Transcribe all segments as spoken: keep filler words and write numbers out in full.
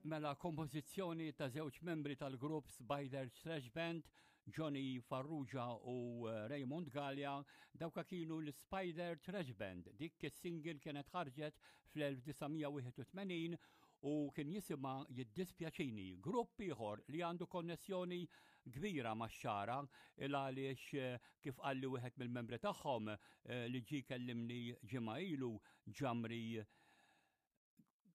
Mela kompożizzjoni ta' żewġ membri tal-grupp Spider Thrash Band, Johnny Farrugia u eh, Raymond Gallia, dawka kienu l-Spider Thrash Band. Dik is-single kienet ħarġet fl-elf disa' mija wieħed u tmenin u kien jisimha "Jiddispjaċini". Grupp ieħor li għandu konnessjoni kbira max-Xagħra il għaliex eh, kif qalli wieħed mill-membri tagħhom eh, li ġi kellimni ġimgħa ilu, Ġamri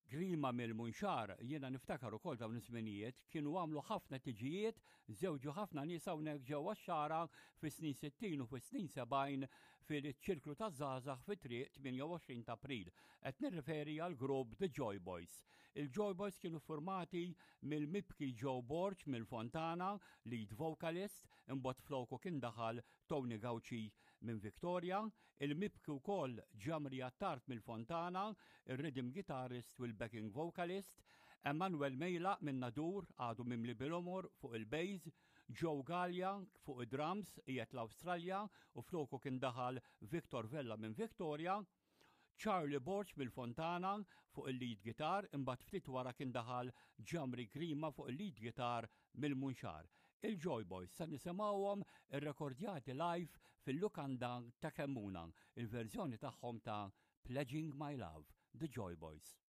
Grima mill-Munxar, jiena niftakar ukoll dawn iż-żminijiet, kienu għamlu ħafna tiġijiet, żewġu ħafna nies hawnhekk ġewwa x-Xagħra fis-snin sittin u fis-snin sebgħin fil-ċirklu ta' żgħażagħ fi triq tmienja u għoxrin ta' April. Qed nirriferi għal grupp The Joy Boys. Il-Joy Boys kienu formati mill-mibki Joe Borg mill-Fontana, lead vocalist, imbagħad floku kien daħal Tony Gauci minn Victoria, il-mibki wkoll Ġamri Attart mill-Fontana, il-rhythm guitarist u l-backing vocalist, Emanuel Mejla minn Nadur, għadu mimli bil-għomor, fuq il-bass, Joe Gallia fuq id-drums, qiegħed l-Awstralja u floku kien daħal Victor Vella minn Victoria, Charlie Borg mill-Fontana fuq il-lead guitar, imbagħad ftit wara kien daħal Ġamri Grima fuq il-lead guitar mill-Munxar. Il-Joy Boys sa nisimgħuhom irrekordjati live fil-lukanda ta' Kemmuna, il-verżjoni tagħhom ta' "Pledging My Love", The Joy Boys.